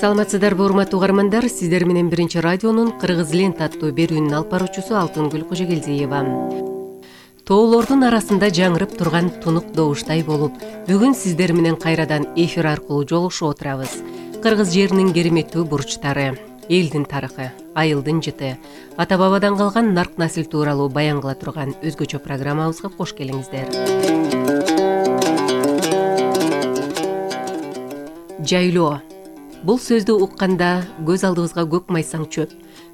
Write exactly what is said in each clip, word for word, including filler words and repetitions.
Саламатсыздарбы урматтуу угармандар, сиздер менен биринчи радионун Кыргыз лента аттуу берүүнүн алып баруучусу Алтынгүл Кожогелдиева. Тоолордун арасында жаңырып турган тунук добуштай болуп, бүгүн сиздер менен кайрадан эфир аркылуу жолугушуп отурабыз. Кыргыз жеринин кереметтүү бурчтары, элдин тарыхы, айылдын жыты, ата бабадан калган нарк насил тууралуу баян кыла турган өзгөчө программабызга кош келиңиздер. Жайлоо. Бул сөздү укканда көз алдыбызга көк майсаң чөп,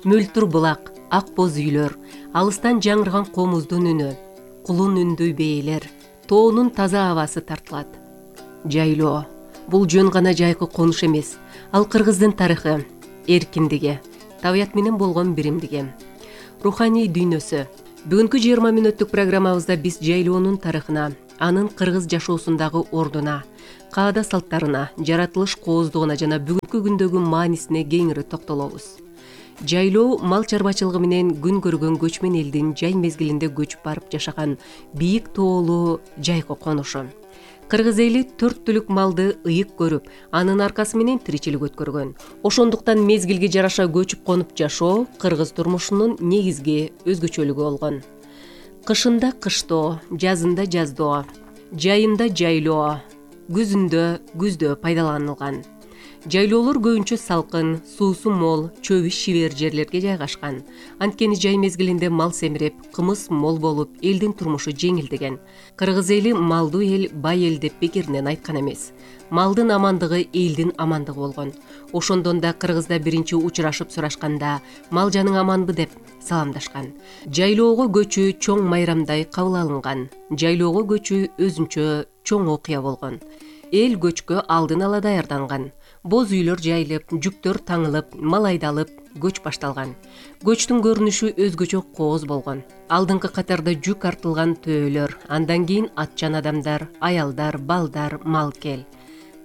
мөлтүр булак, ак боз үйлөр, алыстан жаңырган комуздун үнү, кулун үндүү бээлер, тоонун таза абасы тартылат. Жайлоо. Бул жөн гана жайкы конуш эмес, ал кыргыздын тарыхы, эркиндиги, табият менен болгон биримдиги, руханий дүйнөсү. Бүгүнкү жыйырма мүнөттүк программабызда биз жайлоонун тарыхына, анын кыргыз жашоосундагы ордуна, каада салттарына, жаратылыш кооздугуна жана бүгүнкү күндөгү маанисине кеңири токтолобуз. Жайлоо мал чарбачылыгы менен күн көргөн көчмөн элдин жай мезгилинде көчүп барып жашаган бийик тоолуу жайкы конушу. Кыргыз эли төрт түлүк малды ыйык көрүп, анын аркасы менен тиричилик өткөргөн. Ошондуктан мезгилге жараша көчүп конуп жашоо кыргыз турмушунун негизги өзгөчөлүгү болгон. Кышында кыштоо, жазында жаздоо, жайында жайлоо, күзүндө күздө пайдаланылган. Жайлоолор көбүнчө салкын, суусу мол, чөбү шибер жерлерге жайгашкан. Анткени жай мезгилинде мал семирип, кымыз мол болуп, элдин турмушу жеңилдеген. Кыргыз эли малдуу эл, бай эл деп бекеринен айткан эмес. Малдын амандыгы элдин амандыгы болгон. Ошондон да кыргызда биринчи учурашып сурашканда мал жаның аманбы деп саламдашкан. Жайлоого көчүү чоң майрамдай кабыл алынган. Жайлоого көчүү өзүнчө чоң окуя болгон. Эл көчкө алдын ала даярданган. Боз үйлөр жайылып, жүктөр таңылып, мал айдалып, көч башталган. Көчтүн көрүнүшү өзгөчө кооз болгон. Алдыңкы катарда жүк артылган төөлөр, андан кийин атчан адамдар, аялдар, балдар, мал кел.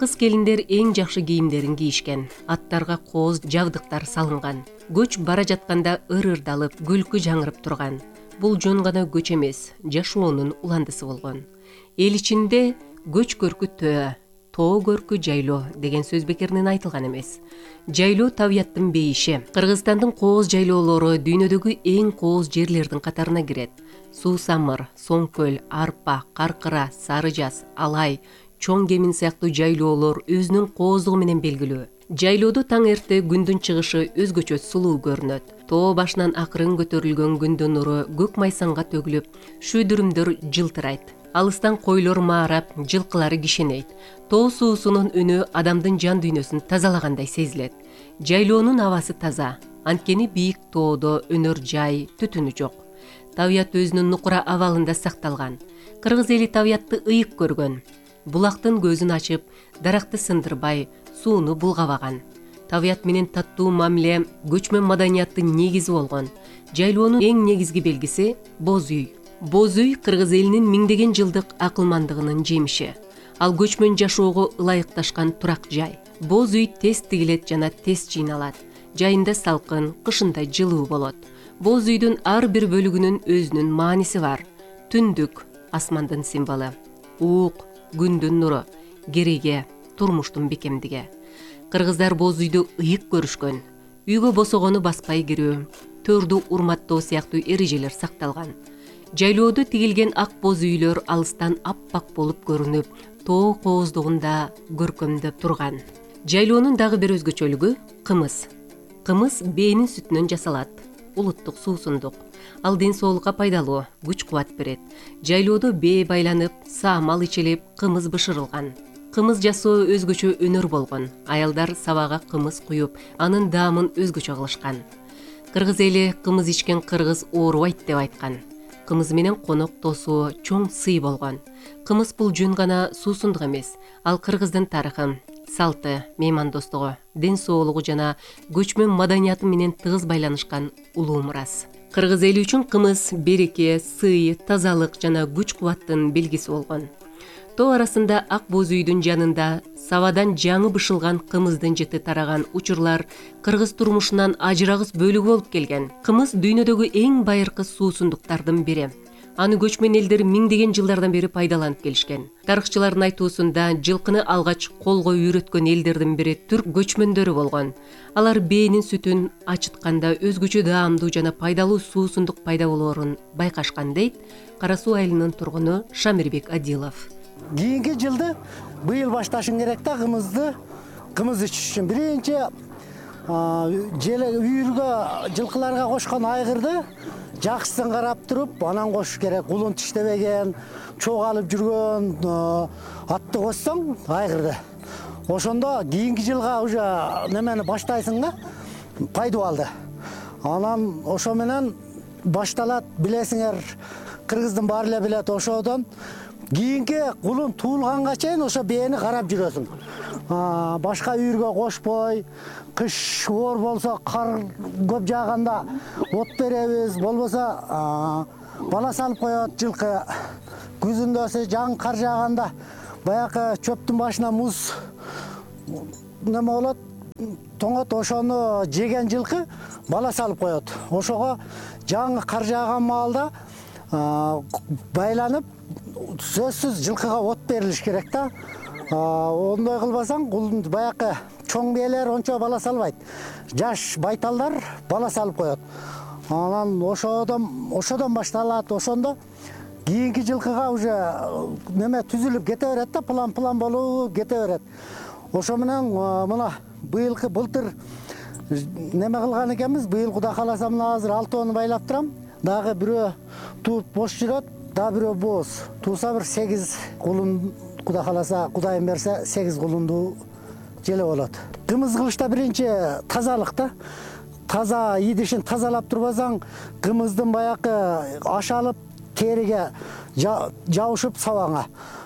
Кыз келиндер эң жакшы кийимдерин кийишкен, аттарга кооз жабдыктар салынган. Көч бара жатканда ыр-ырдалып, күлкү жаңырып турган. Бул жөн гана көч эмес, жашоонун уландысы болгон. Эл ичинде көч көркү төө, тоо көркү жайлоо деген сөз бекеринен айтылган эмес. Жайлоо табияттын бейиши. Кыргызстандын кооз жайлоолору дүйнөдөгү эң кооз жерлердин катарына кирет. Суусамыр, Соңкөл, Арпа, Каркыра, Сары Жаз, Алай, Чоң Кемин сыяктуу жайлоолор өзүнүн кооздугу менен белгилүү. Жайлоодо таң эрте күндүн чыгышы өзгөчө сулуу көрүнөт. Тоо башынан акырын көтөрүлгөн күндүн нуру көк майсаңга төгүлүп, шүйдүрүмдөр жылтырайт. Алыстан койлор маарап, жылкылары кишенейт. Тоо суусунун үнү адамдын жан дүйнөсүн тазалагандай сезилет. Жайлоонун абасы таза, анткени бийик тоодо өнөр жай, түтүнү жок. Табият өзүнүн нукура абалында сакталган. Кыргыз эли табиятты ыйык көргөн. Булактын көзүн ачып, даракты сындырбай, сууну булгабаган. Табият менен таттуу мамиле көчмөн маданияттын негизи болгон. Жайлоонун эң негизги белгиси боз үй. Боз үй кыргыз элинин миңдеген жылдык акылмандыгынын жемиши. Ал көчмөн жашоого ылайыкташкан турак жай. Боз үй тез тигилет жана тез жыйналат. Жайында салкын, кышында жылуу болот. Боз үйдүн ар бир бөлүгүнүн өзүнүн мааниси бар. Түндүк асмандын символу, уук күндүн нуру, кереге турмуштун бекемдиги. Кыргыздар боз үйдү ыйык көрүшкөн. Үйгө босогону баспай кирүү, төрдү урматтоо сыяктуу эрежелер сакталган. Жайлоодо тигилген ак боз үйлөр алыстан аппак болуп көрүнүп, тоо кооздугунда көркөмдөп турган. Жайлоонун дагы бир өзгөчөлүгү кымыз. Кымыз бээнин сүтүнөн жасалат. Улуттук суусундук. Ал ден соолукка пайдалуу, күч-кубат берет. Жайлоодо бээ байланып, саамал ичилип, кымыз бышырылган. Кымыз жасоо өзгөчө өнөр болгон. Аялдар сабага кымыз куюп, анын даамын өзгөчө кылышкан. Кыргыз эли кымыз ичкен кыргыз оорубайт деп айткан. Кымыз менен конок тосуу чоң сый болгон. Кымыз бул жөн гана суусундук эмес, ал кыргыздын тарыхы, салты, меймандостугу, ден соолугу жана көчмөн маданияты менен тыгыз байланышкан улуу мурас. Кыргыз эли үчүн кымыз береке, сый, тазалык жана күч-кубаттын белгиси болгон. Тоо арасында ак боз үйдүн жанында сабадан жаңы бышылган кымыздын жыты тараган учурлар кыргыз турмушунан ажырагыс бөлүгү болуп келген. Кымыз дүйнөдөгү эң байыркы суусундуктардын бири. Аны көчмөн элдер миңдеген жылдардан бери пайдаланып келишкен. Тарыхчылардын айтуусунда жылкыны алгач колго үйрөткөн элдердин бири түрк көчмөндөрү болгон. Алар бээнин сүтүн ачытканда өзгөчө даамдуу жана пайдалуу суусундук пайда болоорун байкашкан, дейт Кара Суу айылынын тургуну Шамирбек Адилов. Кийинки жылды быйыл башташың керек да, кымызды кымыз ичиш үчүн. Биринчи желе үйүргө жылкыларга кошкон айгырды жакшысын карап туруп, анан кошуш керек. Улун тиштебеген, чогалып жүргөн атты кошсоң айгырды. Ошондо кийинки жылга уже немени баштайсың да, пайдубалды. Анан ошо менен башталат, билесиңер, кыргыздын баары эле билет. Ошодон кийинки кулун туулганга чейин ошо бээни карап жүрөсүң. Башка үйүргө кошпой, кыш оор болсо, кар көп жааганда от беребиз, болбосо бала салып коет жылкы. Күзүндө жаң кар жааганда баягы чөптүн башына муз неме болот, тоңот, ошону жеген жылкы бала салып коет. Ошого жаң кар жааган маалда байланып, сөзсүз жылкыга от берилиш керек да. Ондой кылбасаң, баягы чоң бээлер ончо бала салбайт. Жаш байталдар бала салып коет. Анан ошодон ошодон башталат. Ошондо кийинки жылкыга уже неме түзүлүп кете берет да, план-план болуп кете берет. Ошо менен мына быйылкы былтыр неме кылган экенбиз. Быйыл Кудай кааласа мына азыр алтоону байлап турам. Дагы бирөө тууп бош жүрөт, дагы бирөө бооз. Туурса бир сегиз кулун, Кудай кааласа, Кудайым берсе, сегиз кулундуу желе болот. Кымыз кылышта биринчи тазалык да. Таза идишин тазалап турбасаң, кымыздын баягы ашалып, териге жабышып сабаңа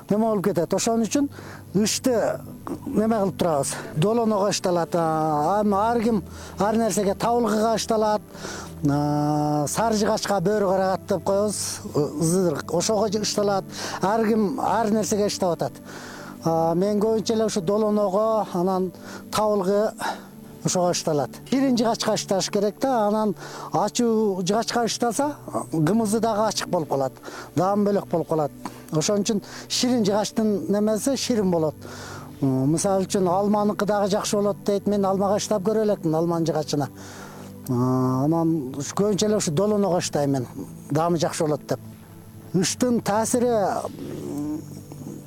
неме болуп кетет. Ошон үчүн ышты неме кылып турабыз. Долоного ышталат. Ар ким ар нерсеге, табылгыга ышталат. Сары жыгачка бөрү карагат деп коебуз. Ошого ышталат. Ар ким ар нерсеге ыштап атат. Мен көбүнчө эле ушу долоного, анан табылгы ошого ышталат. Ширин жыгачка ышташ керек да, анан ачуу жыгачка ышталса, кымызы дагы ачык болуп калат. Даам бөлөк болуп калат. Ошон үчүн ширин жыгачтын немеси ширин болот. Мисалы үчүн алманыкы дагы жакшы болот дейт. Мен алмага ыштап көрө элекмин, алманын жыгачына. Анан көбүнчө эле ушу долоного ыштайм мен. Даамы жакшы болот деп. Ыштын таасири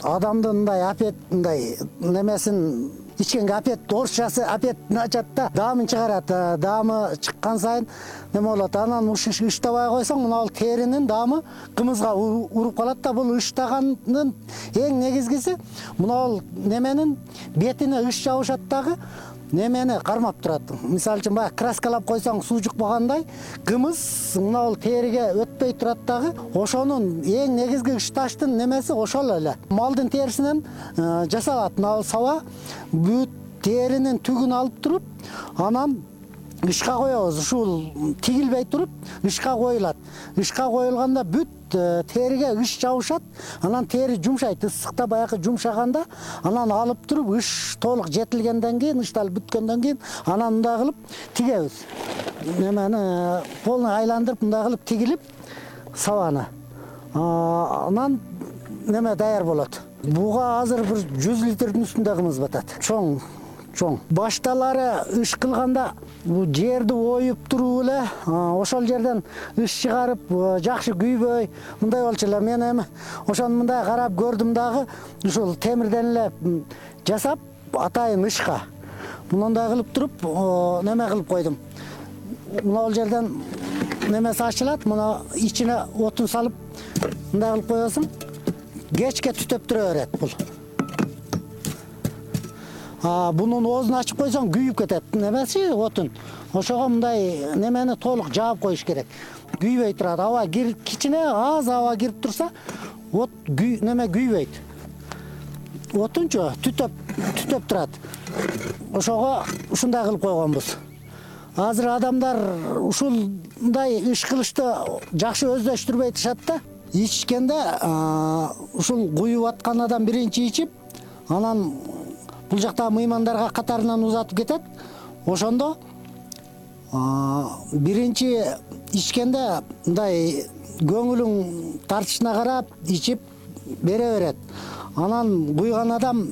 адамдын мындай апет, мындай немесин ичкенге апет, орусчасы апетин ачат да, даамын чыгарат. Даамы чыккан сайын неме болот. Анан ушу ыштабай койсоң, мына бул теринин даамы кымызга уруп калат да. Бул ыштаганын эң негизгиси мына бул неменин бетине ыш жабышат дагы, немени кармап турат. Мисалы үчүн баягы краскалап койсоң суу жукпагандай, кымыз мына бул териге өтпөй турат дагы. Ошонун эң негизги ышташтын немеси ошол эле. Малдын терисинен жасалат. Мына бул саба бүт теринин түгүн алып туруп, анан ышка коебуз. Ушул тигилбей туруп ышка коюлат. Ышка коюлганда бүт териге ыш жабышат. Анан тери жумшайт. Ысыкта баягы жумшаганда, анан алып туруп ыш толук жетилгенден кийин, ышталып бүткөндөн кийин, анан мындай кылып тигебиз. Немени полный айландырып мындай кылып тигилип сабаны. Анан неме даяр болот. Буга азыр бир жүз литрдин үстүндө кымыз батат. Чоң чоң. Башталары ыш кылганда бу жерди оюп туруп эле, ошол жерден ыш чыгарып, жакшы күйбөй, мындай болчу эле. Мен эми ошону мындай карап көрдүм дагы, ушул темирден эле жасап, атайын ышка. Мындай кылып туруп, неме кылып койдум. Мына бул жерден немеси ачылат, мына ичине отун салып, мындай кылып коесуң. Кечке түтөп тура берет бул. Бунун оозун ачып койсоң күйүп кетет. Немеси отун. Ошого мындай немени толук жаап коюш керек. Күйбөй турат. Аба кирип, кичине аз аба кирип турса, от неме күйбөйт. Отунчу түтөп түтөп турат. Ошого ушундай кылып койгонбуз. Азыр адамдар ушундай иш кылышты жакшы өздөштүрбөй турушат да. Ичкенде ушул куюп атканадан биринчи ичип, анан бул жактагы мыймандарга катарынан узатып кетет. Ошондо биринчи ичкенде мындай көңүлүң тартышына карап ичип бере берет. Анан куйган адам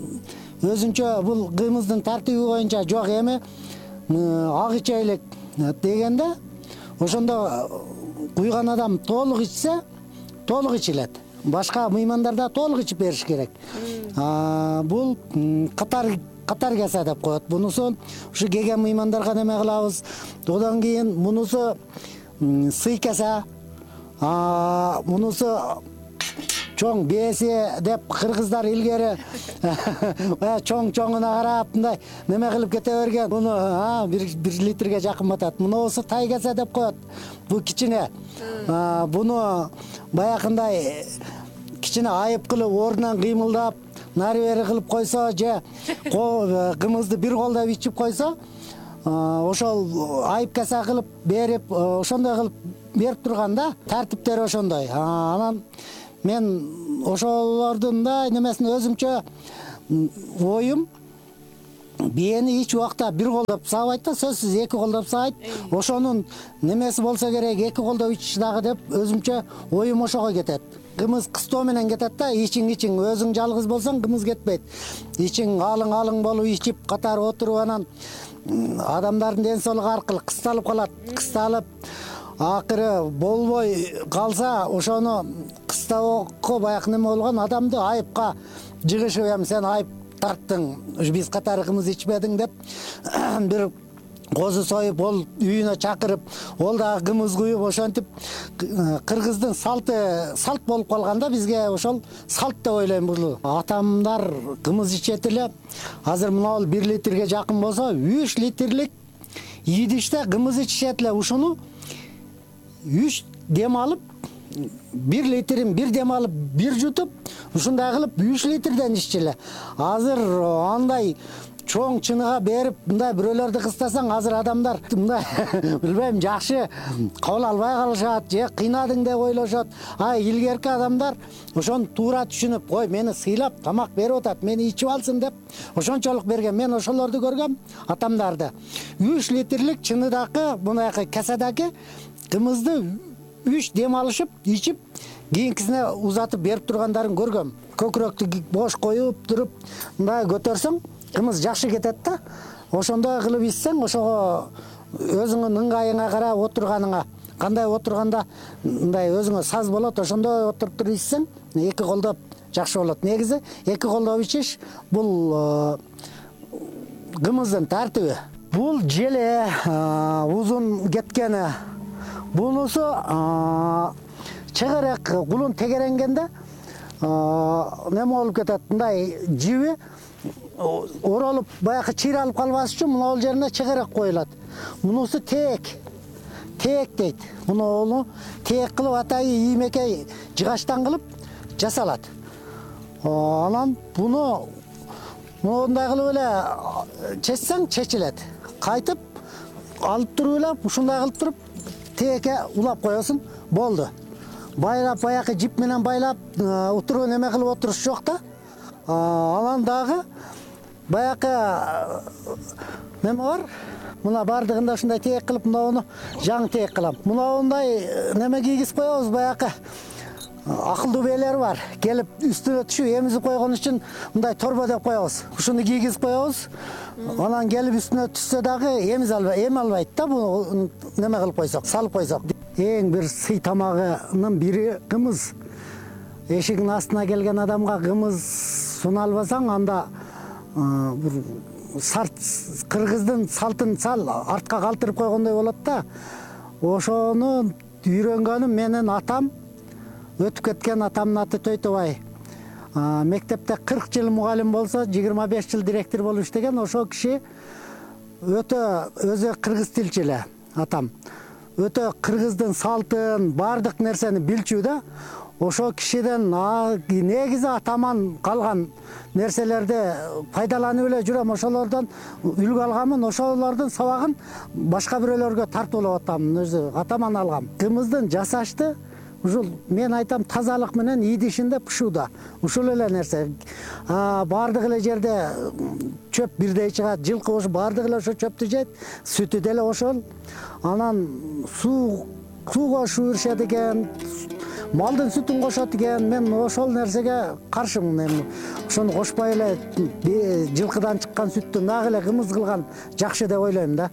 өзүнчө бул кымыздын тартиби боюнча жок эми ак ичелик дегенде ошондо куйган адам толук ичсе толук ичилет. Башка мыймандарда толук ичип бериш керек. Бул катар катар кесе деп коет. Бунусу ушу кеген мыймандарга неме кылабыз. Одан кийин мунусу сый кесе, мунусу чоң бесе деп кыргыздар илгери чоң-чоңуна карап мындай неме кылып кете берген. Муну бир литрге жакын батат. Мунусу тай кесе деп коет. Бул кичине. Буну баягындай кичине айып кылып ордунан кыймылдап нары бери кылып койсо же кымызды бир колдоп ичип койсо, ошол айып кесе кылып берип ошондой кылып берип турганда тартиптери ошондой. Анан мен ошолордун да немесин өзүмчө оюм, биени эч убакта бир колдоп сабайт да, сөзсүз эки колдоп сабайт. Ошонун немеси болсо керек, эки колдоп ичиш дагы деп өзүмчө оюм ошого кетет. Кымыз кыстоо менен кетет да, ичиң ичиң, өзүң жалгыз болсоң кымыз кетпейт. Ичиң алың-алың болуп ичип катар отуруп анан адамдардын ден соолугу аркылуу кысталып калат. Кысталып акыры болбой калса, ошону кыстоого баягы неме болгон адамды айыпка жыгышып, эми сен айып тарттың, биз катары кымыз ичпедиң деп бир козу союп, ол үйүнө чакырып, ол дагы кымыз куюп, ошентип кыргыздын салты салт болуп калганда бизге ошол салт деп ойлойм. Бул атамдар кымыз ичет эле. Азыр мына бир литрге жакын болсо, үч литрлик идиште кымыз ичишет эле. Ушуну үч дем алып, бир литрин бир дем алып, бир жутуп, ушундай кылып үч литрден иччиле. Азыр андай чоң чыныга берип, мындай бирөөлөрдү кыстасаң, азыр адамдар мындай билбейм, жакшы кабыл албай калышат, же кыйнадың деп ойлошот. А илгерки адамдар ошону туура түшүнүп, ой, мени сыйлап тамак берип атат, мени ичип алсын деп ошончолук берген. Мен ошолорду көргөм, атамдарды. үч литрлик чыныдакы, мындай каседаги кымызды үч дем алышып, ичип, кийинкисине узатып берип тургандарын көргөм. Көкүрөктү бош коюп туруп, мындай көтөрсөң, кымыз жакшы кетет да. Ошондой кылып ичсең, ошого өзүңүн ыңгайыңа карап отурганыңа, кандай отурганда мындай өзүңө саз болот, ошондой отуруп туруп ичсең, эки колдоп жакшы болот. Негизи эки колдоп ичиш бул кымыздын тартиби. Бул желе узун кеткени. Бунусу чыгырык кулун тегеренгенде неме болуп кетет, мындай жиби оролуп баягы чыйралып калбаш үчүн мына бул жерине чыгырык коюлат. Мунусу теек. Теек дейт. Муну теек кылып атайы иймекей жыгачтан кылып жасалат. Анан буну мындай кылып эле чечсең чечилет. Кайтып алып туруп эле ушундай кылып туруп теекке улап коесуң, болду. Байлап баягы жип менен байлап утуруп неме кылып отуруш жок да. Анан дагы баягы неме бар? Мына бардыгында ушундай теек кылып, мынауну жаңы теек кылам. Мындай неме кийгиз коебуз, баягы акылдуу бээлер бар. Келип үстүнө түшүп эмизип койгон үчүн мындай торбо деп коебуз. Ушуну кийгиз коебуз. Анан келип үстүнө түшсө дагы эмиз албайт, эми албайт да, буну неме кылып койсок, салып койсок. Эң бир сый тамагынын бири кымыз. Эшигин астына келген адамга кымыз суналбасаң, анда бир сарт кыргыздын салтын сал артка калтырып койгондой болот да. Ошону үйрөнгөнүм менин атам, өтүп кеткен атамдын аты Төйтобай. Мектепте кырк жыл мугалим болсо, жыйырма беш жыл директор болуп иштеген. Ошол киши өтө өзү кыргыз тилчи эле атам. Өтө кыргыздын салтын, бардык нерсени билчү да. Ошол кишиден негизи атаман калган нерселерди пайдаланып эле жүрөм. Ошолордон үлгү алганмын, ошолордун сабагын башка бирөөлөргө тартуулап атам, өзү атаман алгам. Кымыздын жасашты ушул мен айтам тазалык менен идишинде пышууда. Ушул эле нерсе. Бардык эле жерде чөп бирдей чыгат, жылкы ошо бардык эле ошо чөптү жейт, сүтү деле ошол. Анан суу сууга шу беришет экен. малдын сүтүн кошот экен. Мен ошол нерсеге каршымын. Эми ошону кошпой эле жылкыдан чыккан сүттү нак эле кымыз кылган жакшы деп ойлойм да.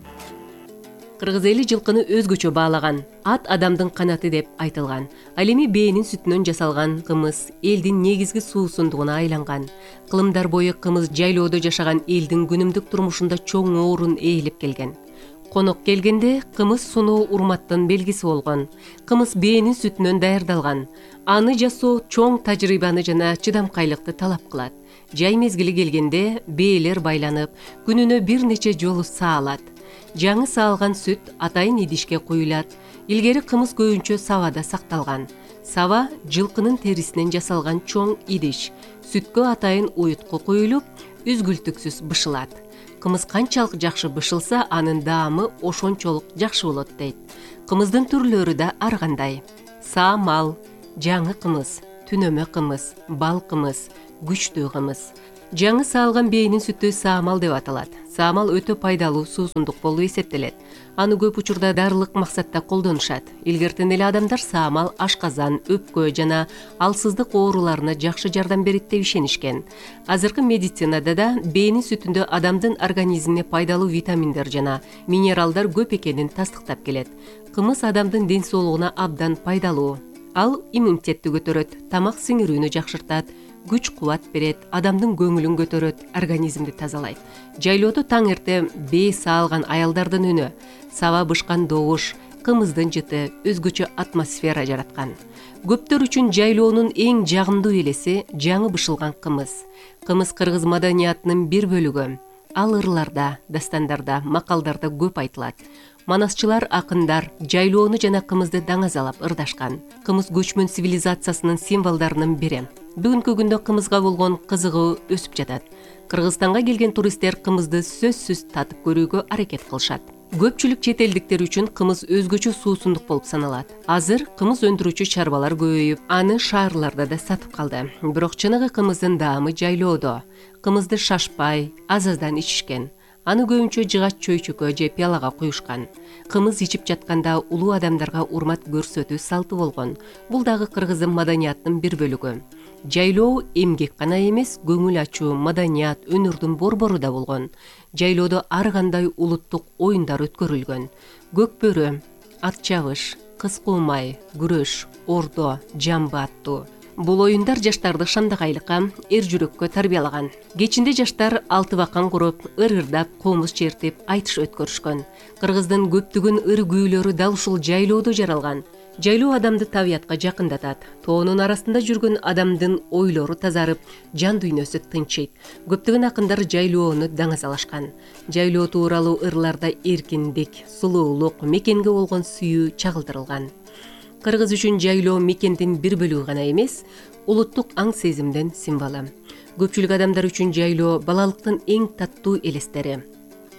Кыргыз эли жылкыны өзгөчө баалаган. Ат адамдын канаты деп айтылган. Ал эми бээнин сүтүнөн жасалган кымыз элдин негизги суусундугуна айланган. Кылымдар бою кымыз жайлоодо жашаган элдин күнүмдүк турмушунда чоң орун ээлеп келген. Конок келгенде кымыз суноо урматтын белгиси болгон. Кымыз бээнин сүтүнөн даярдалган. Аны жасоо чоң тажрыйбаны жана чыдамкайлыкты талап кылат. Жай мезгили келгенде бээлер байланып, күнүнө бир нече жолу саалат. Жаңы саалган сүт атайын идишке куюлат. Илгери кымыз көбүнчө сабада сакталган. Саба жылкынын терисинен жасалган чоң идиш. Сүткө атайын уютку куюлуп, үзгүлтүксүз бышылат. Кымыз канчалык жакшы бышылса, анын даамы ошончолук жакшы болот дейт. Кымыздын түрлөрү да ар кандай. Саамал, жаңы кымыз, түнөмө кымыз, бал кымыз, күчтүү кымыз. Жаңы саалган бээнин сүтү саамал деп аталат. Саамал өтө пайдалуу суусундук болуп эсептелет. Аны көп учурда дарылык максатта колдонушат. Илгертен эле адамдар саамал ашказан, өпкө жана алсыздык ооруларына жакшы жардам берет деп ишенишкен. Азыркы медицинада да бээнин сүтүндө адамдын организмине пайдалуу витаминдер жана минералдар көп экенин тастыктап келет. Кымыз адамдын ден соолугуна абдан пайдалуу. Ал иммунитетти көтөрөт, тамак сиңирүүнү жакшыртат, күч кубат берет, адамдын көңүлүн көтөрөт, организмди тазалайт. Жайлоодо таң эрте бээ саалган аялдардын үнү, саба бышкан добуш, кымыздын жыты өзгөчө атмосфера жараткан. Көптөр үчүн жайлоонун эң жагымдуу элеси жаңы бышылган кымыз. Кымыз кыргыз маданиятынын бир бөлүгү. Ал ырларда, дастандарда, макалдарда көп айтылат. Манасчылар, акындар жайлоону жана кымызды даңазалап ырдашкан. Кымыз көчмөн цивилизациясынын символдорунун бири. Бүгүнкү күндө кымызга болгон кызыгуу өсүп жатат. Кыргызстанга келген туристтер кымызды сөзсүз татып көрүүгө аракет кылышат. Көпчүлүк чет элдиктер үчүн кымыз өзгөчө суусундук болуп саналат. Азыр кымыз өндүрүүчү чарбалар көбөйүп, аны шаарларда да сатып калды. Бирок чыныгы кымыздын даамы жайлоодо. Кымызды шашпай, аз-аздан ичишкен. Аны көбүнчө жыгач чөйчөккө же пиалага куюшкан. Кымыз ичип жатканда улуу адамдарга урмат көрсөтүү салты болгон. Бул дагы кыргыздын маданиятынын бир бөлүгү. Жайлоо эмгек гана эмес, көңүл ачуу, маданият, өнөрдүн борбору да болгон. Жайлоодо ар кандай улуттук оюндар өткөрүлгөн. Көкбөрө, ат чабыш, кыз куумай, күрөш, ордо, жамбы аттуу. Бул оюндар жаштарды шамдагайлыкка, эр жүрөккө тарбиялаган. Кечинде жаштар алты бакан куруп, ыр-ырдап, комуз чертип, айтыш өткөрүшкөн. Кыргыздын көптөгөн ыр күүлөрү дал ушул жайлоодо жаралган. Жайлоо адамды табиятка жакындатат. Тоонун арасында жүргөн адамдын ойлору тазарып, жан дүйнөсү тынчыйт. Көптөгөн акындар жайлоону даңазалашкан. Жайлоо тууралуу ырларда эркиндик, сулуулук, мекенге болгон сүйүү чагылдырылган. Кыргыз үчүн жайлоо мекендин бир бөлүгү гана эмес, улуттук аң сезимдин символу. Көпчүлүк адамдар үчүн жайлоо балалыктын эң таттуу элестери.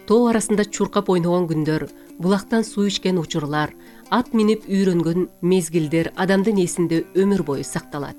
Тоо арасында чуркап ойногон күндөр, булактан суу ичкен учурлар, ат минип үйрөнгөн мезгилдер адамдын эсинде өмүр бою сакталат.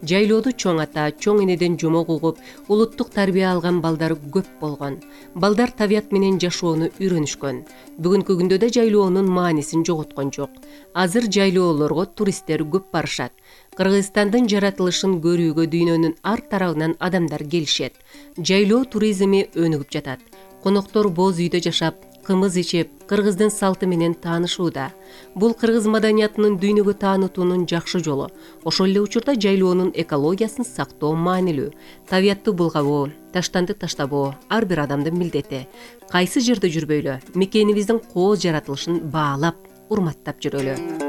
Жайлоодо чоң ата, чоң энеден жомок угуп, улуттук тарбия алган балдар көп болгон. Балдар табият менен жашоону үйрөнүшкөн. Бүгүнкү күндө да жайлоонун маанисин жоготкон жок. Азыр жайлоолорго туристтер көп барышат. Кыргызстандын жаратылышын көрүүгө дүйнөнүн ар тарабынан адамдар келишет. Жайлоо туризми өнүгүп жатат. Коноктор боз үйдө жашап, кымыз ичип, кыргыздын салты менен таанышууда. Бул кыргыз маданиятынын дүйнөгө таанытуунун жакшы жолу. Ошол эле учурда жайлоонун экологиясын сактоо маанилүү. Табиятты булгабоо, таштанды таштабоо ар бир адамдын милдети. Кайсы жерде жүрбөйлү, мекенибиздин кооз жаратылышын баалап, урматтап жүрөлү.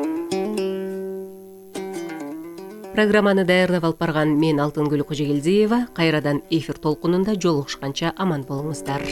Программаны даярдап алып барган мен Алтынгүл Кожогелдиева. Кайрадан эфир толкунунда жолугушканча аман болуңуздар.